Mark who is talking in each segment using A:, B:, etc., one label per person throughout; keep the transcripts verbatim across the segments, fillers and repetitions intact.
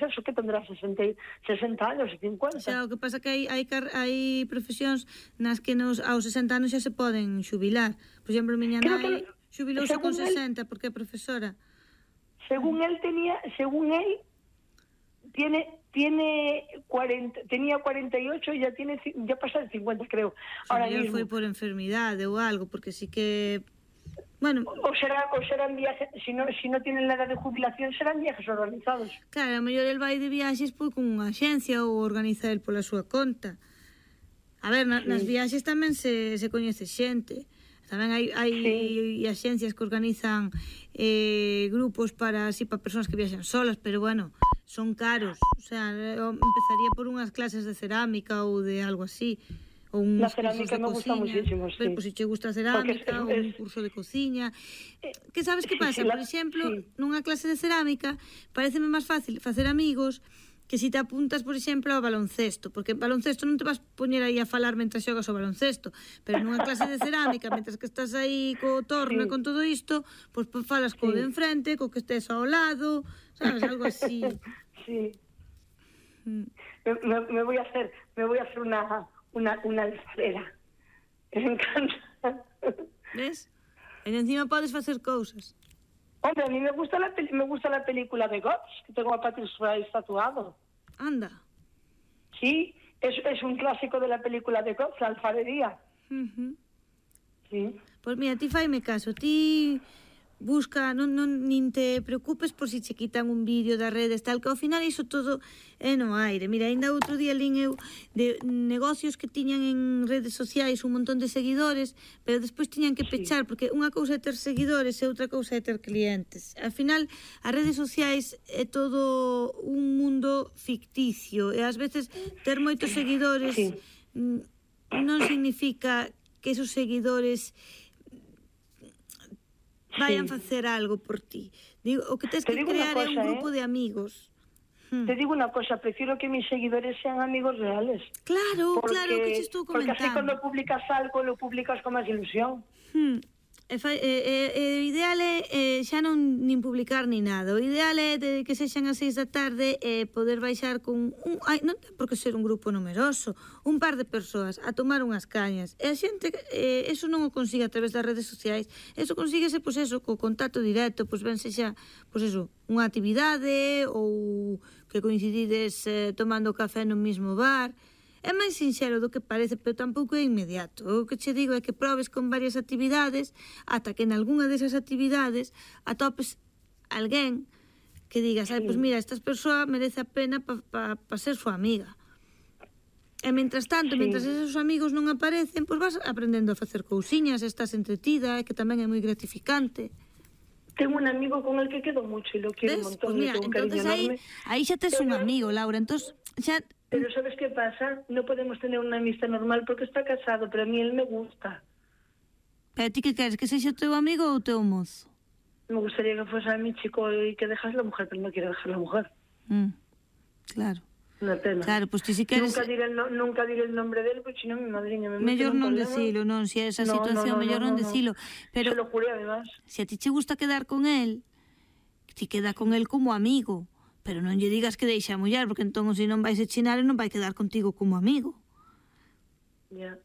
A: eso que tendrá sesenta, sesenta anos e cincuenta.
B: Xa, o que pasa que hai, hai, hai profesións nas que nos, aos sesenta anos xa se poden xubilar. Por exemplo, miña nai xubilouse con sesenta porque é profesora.
A: Según él tenía, según él tiene tiene cuarenta, tenía cuarenta y ocho y ya tiene ya pasa de cincuenta, creo.
B: Ahora mismo foi por enfermidade ou algo, porque sí que bueno,
A: o será o serán viajes, si no si no tienen la edad de jubilación serán viajes organizados.
B: Claro, a mellor el vai de viaxes pois con unha axencia ou organiza el pola súa conta. A ver, na, sí. nas viaxes tamén se se coñece xente. Tamén hai, hai sí. axencias que organizan eh, grupos para así para persoas que viaxan solas, pero bueno, son caros. O sea, eu empezaría por unhas clases de cerámica ou de algo así. Ou
A: la cerámica me gusta muchísimo, sí.
B: Pero, pues, si te gusta a cerámica ou un curso de cociña. Que sabes que pasa? Por exemplo, sí. nunha clase de cerámica pareceme máis fácil facer amigos que si te apuntas, por exemplo, ao baloncesto, porque baloncesto non te vas poñer aí a falar mentre xogas o baloncesto, pero nunha clase de cerámica, mentre que estás aí co torno e sí. con todo isto, pois pues, falas co sí. de enfrente, co que estés ao lado, sabes, algo así.
A: Sí. Mm. Me, me voy a hacer, me voy a hacer una una una alfarera. Me encanta.
B: ¿Ves? E encima podes facer cousas.
A: Hombre, a mí me gusta la me gusta la película de Ghost, que tengo a Patrick Swayze tatuado.
B: Anda.
A: Sí, es, es un clásico de la película de Ghost, la alfarería.
B: Uh-huh.
A: Sí.
B: Pues mira, ti faime caso, ti busca, non, non nin te preocupes por si che quitan un vídeo das redes, tal, que ao final iso todo é no aire. Mira, ainda outro día lín eu de negocios que tiñan en redes sociais un montón de seguidores, pero despois tiñan que pechar, sí. porque unha cousa é ter seguidores e outra cousa é ter clientes. Ao final, as redes sociais é todo un mundo ficticio, e ás veces ter moitos seguidores sí. non significa que esos seguidores vayan a facer algo por ti. Digo, o que tens que crear é un grupo
A: ¿eh?
B: de amigos.
A: Hmm. Te digo una cosa, prefiero que mis seguidores sean amigos reales.
B: Claro, porque, claro, que te estou comentando.
A: Porque así cuando publicas algo, lo publicas con máis ilusión.
B: Hmm. E, fa, e, e, e, o ideal é eh, xa non nin publicar ni nada. O ideal é de que sexan as seis da tarde e eh, poder baixar con un, ai, non ten por que ser un grupo numeroso, un par de persoas a tomar unhas cañas. E a xente eh, eso non o consigue a través das redes sociais. Eso consíguese pois eso, co contacto directo, pois ben sexa, pois eso, unha actividade ou que coincidides eh, tomando café no mismo bar. É máis sinxelo do que parece, pero tampouco é inmediato. O que che digo é que probes con varias actividades ata que en algunha desas actividades atopes alguén que digas, ai, pois mira, esta persoa merece a pena para pa, pa ser súa amiga. E mentras tanto, sí. mentras esos amigos non aparecen, pois vas aprendendo a facer cousiñas, estás entretida, que tamén é moi gratificante.
A: Tengo un amigo con el que quedo mucho y lo quiero un montón.
B: Pues mira, entonces ahí, ahí xa tes un amigo, Laura, entonces xa...
A: Pero ¿sabes qué pasa? No podemos tener una amistad normal porque está casado, pero a mí él me gusta.
B: ¿Pero ti que queres? ¿Que sexa teu amigo ou teu mozo?
A: Me gustaría que fuese a mi chico y que dejas la mujer, pero no quiero dejar la mujer.
B: Mm, claro.
A: Una pena.
B: Claro, pues ti si queres...
A: Nunca diré el, no, nunca diré el nombre de él, porque si no mi madriña me mete
B: mellor
A: un
B: non decilo, non, se esa
A: no,
B: situación,
A: no, no,
B: mellor
A: no,
B: non
A: no,
B: decilo. Pero
A: se lo juré, además.
B: Se a ti che gusta quedar con él, ti queda con él como amigo, pero non lle digas que deixa a muller, porque entón se non vais a chinar e non vai quedar contigo como amigo.
A: Ya. Yeah.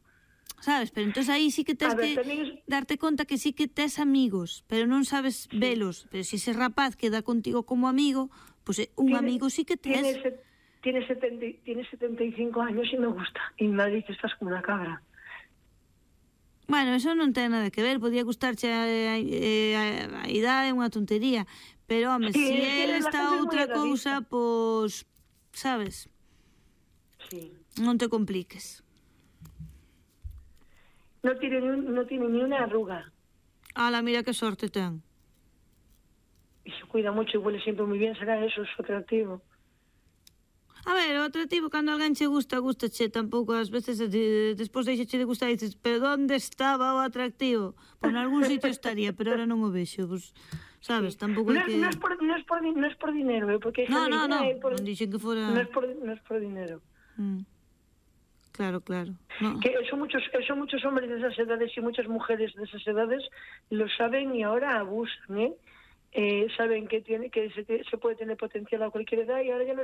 B: Sabes? Pero entón aí sí que tens que es... darte conta que sí que tes amigos, pero non sabes sí. velos. Pero se ese rapaz queda contigo como amigo, pues un tiene, amigo sí que tes.
A: Tiene, se, tiene, setenta, tiene setenta y cinco años y me gusta. Y me dice, estás como una cabra.
B: Bueno, eso non ten nada que ver, podía gustarche a, a, a, a idade, é unha tontería, pero, home, sí, se si ele está outra cousa, pois, sabes?
A: Sí.
B: Non te compliques.
A: No tiene, no tiene ni una arruga.
B: Ala, mira que sorte ten.
A: Y se cuida mucho y huele siempre muy bien, será eso, es atractivo.
B: A ver, o atractivo, cando alguén che gusta, gustache, tampouco ás veces de, despois deixache de gustar e dices, pero onde estaba o atractivo? Pois nalgún sitio estaría, pero ahora non o vexo, pues, sabes, tampouco
A: no,
B: é que...
A: Non é por, no es por, no es por dinero, eh, porque...
B: No, no, no, por... non dixen que fora...
A: Non é por, no es por dinero.
B: Mm. Claro, claro. No.
A: Que son muchos, son muchos hombres de esas edades y muchas mujeres de esas edades lo saben y ahora abusan, ¿eh? eh, saben que tiene que se, se puede tener potencial a cualquier edad y ahora ya no